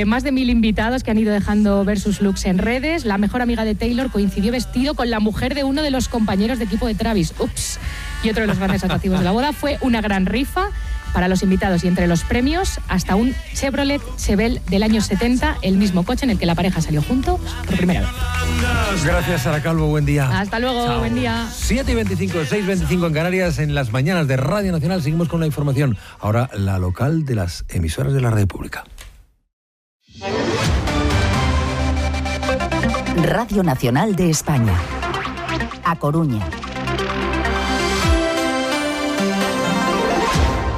Más de 1000 invitados que han ido dejando ver sus looks en redes. La mejor amiga de Taylor coincidió vestido con la mujer de uno de los compañeros de equipo de Travis. Ups. Y otro de los grandes atractivos de la boda fue una gran rifa para los invitados, y entre los premios hasta un Chevrolet Chevelle del año 70, el mismo coche en el que la pareja salió junto por primera vez. Gracias, Sara Calvo, buen día. Hasta luego, chao. Buen día. 7:25, 6:25 en Canarias, en las mañanas de Radio Nacional. Seguimos con la información. Ahora la local de las emisoras de la Radio Pública. Radio Nacional de España. A Coruña.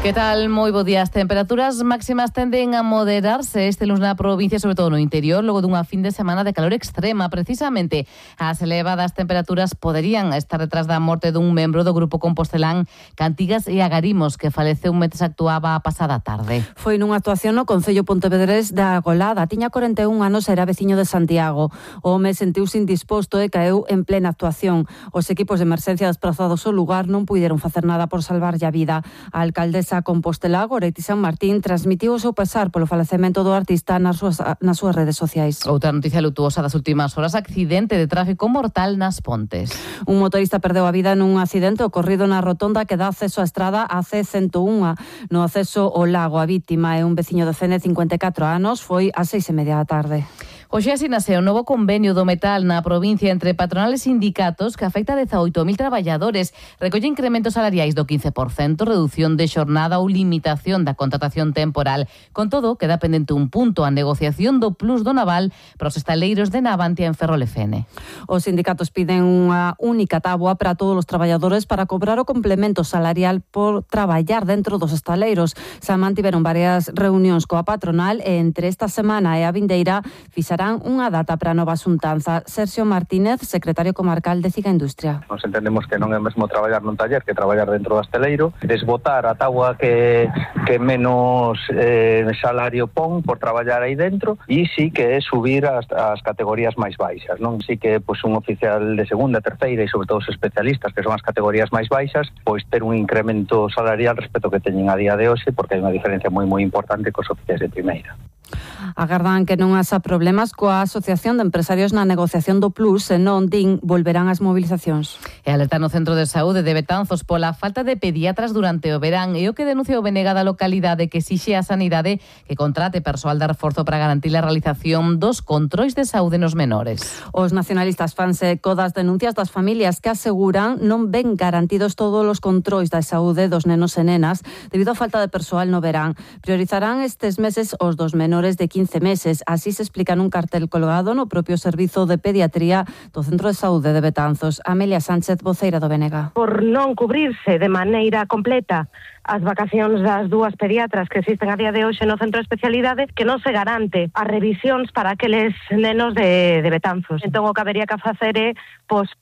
Que tal? Moi bo día. As temperaturas máximas tenden a moderarse este lunes na provincia, sobre todo no interior, logo dunha fin de semana de calor extrema. Precisamente, as elevadas temperaturas poderían estar detrás da morte dun membro do grupo compostelán Cantigas e Agarimos, que faleceu mentres actuaba a pasada tarde. Foi nunha actuación no Concello Pontevedrés da Golada. Tiña 41 anos e era veciño de Santiago. O home sentiuse indisposto e caeu en plena actuación. Os equipos de emerxencia desplazados ao lugar non puideron facer nada por salvarlle a vida. A alcaldesa Compostela, Goretti San Martín, transmitiu o seu pesar polo falecemento do artista nas súas redes sociais. Outra noticia lutuosa das últimas horas: accidente de tráfico mortal nas Pontes. Un motorista perdeu a vida nun accidente ocorrido na rotonda que dá acceso á estrada AC101 no acceso ao lago. A vítima é un veciño de Fene, 54 anos, foi ás 6:30 da tarde. Hoxe asinase o novo convenio do metal na provincia entre patronales e sindicatos que afecta a 18.000 traballadores. Recolle incrementos salariais do 15%, reducción de xornada ou limitación da contratación temporal. Con todo, queda pendente un punto: a negociación do plus do naval para os estaleiros de Navantia en Ferrol-Fene. Os sindicatos piden unha única táboa para todos os traballadores para cobrar o complemento salarial por traballar dentro dos estaleiros. Se mantiveron varias reunións coa patronal e entre esta semana e a vindeira fixarán unha data para a nova xuntanza. Sergio Martínez, secretario comarcal de Ciga Industria. Nos entendemos que non é mesmo traballar nun taller que traballar dentro do esteleiro, desbotar a táboa que menos salario pon por traballar aí dentro, e sí que é subir as categorías máis baixas, non? Sí que un oficial de segunda, terceira e sobre todo os especialistas, que son as categorías máis baixas, pois ter un incremento salarial respecto que teñen a día de hoxe, porque hai unha diferencia moi importante cos oficiais de primeira. Agardan que non haxa problemas coa Asociación de Empresarios na negociación do plus, e non din volverán as movilizacións. E alerta no Centro de Saúde de Betanzos pola falta de pediatras durante o verán, e o que denuncia o BNG da localidade, que exixe a sanidade que contrate persoal de reforzo para garantir a realización dos controis de saúde nos menores. Os nacionalistas fanse eco das denuncias das familias que aseguran non ven garantidos todos os controis da saúde dos nenos e nenas debido á falta de persoal no verán. Priorizarán estes meses os dos menores de 15 meses. Así se explica nun cartel colgado no propio servizo de pediatría do Centro de Saúde de Betanzos. Amelia Sánchez, voceira do BNG. Por non cubrirse de maneira completa as vacacións das dúas pediatras que existen a día de hoxe no centro de especialidade, que non se garante as revisións para aqueles nenos de Betanzos. Entón, o que habería que facer é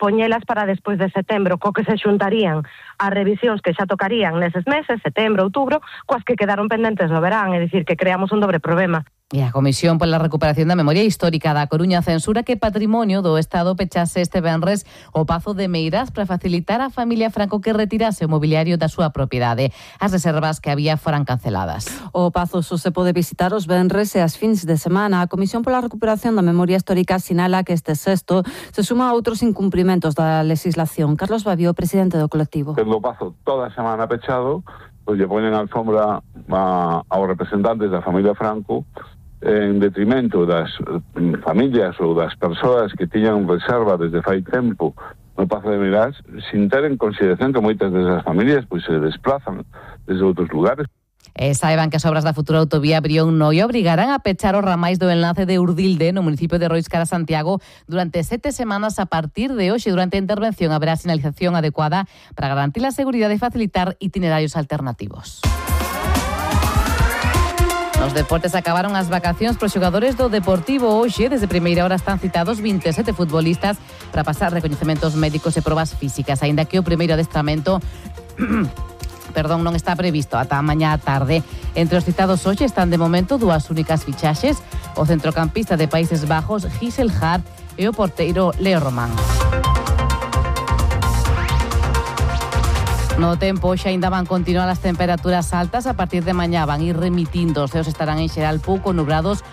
poñelas para despois de setembro, co que se xuntarían as revisións que xa tocarían neses meses, setembro, outubro, coas que quedaron pendentes no verán, é dicir, que creamos un dobre problema. E a Comisión pola Recuperación da Memoria Histórica da Coruña censura que Patrimonio do Estado pechase este venres o Pazo de Meirás para facilitar á familia Franco que retirase o mobiliario da súa propiedade. As reservas que había foran canceladas. O Pazo só se pode visitar os venres e as fins de semana. A Comisión pola Recuperación da Memoria Histórica sinala que este sexto se suma a outros incumprimentos da legislación. Carlos Babio, presidente do colectivo. O Pazo toda a semana pechado, pois lle poñen a alfombra aos representantes da familia Franco en detrimento das familias ou das persoas que tiñan reserva desde fai tempo no Pazo de Meirás, sin ter en consideración que moitas desas familias pois se desplazan desde outros lugares. E saiban que as obras da futura autovía Brión-Noia obrigarán a pechar os ramais do enlace de Urdilde no municipio de Roiscara, Santiago, durante 7 semanas a partir de hoxe. Durante a intervención haberá sinalización adecuada para garantir a seguridade e facilitar itinerarios alternativos. Nos deportes acabaron as vacacións pros xogadores do Deportivo. Hoxe, desde primeira hora, están citados 27 futbolistas para pasar recoñecementos médicos e probas físicas, aínda que o primeiro adestramento non está previsto ata mañá á tarde. Entre os citados hoxe están de momento dúas únicas fichaxes: o centrocampista de Países Bajos, Gisel Hart, e o porteiro Leo Román. No tempo, xa ainda van continuar as temperaturas altas. A partir de mañá van ir remitindo. Os ceos estarán en xeral pouco nubrados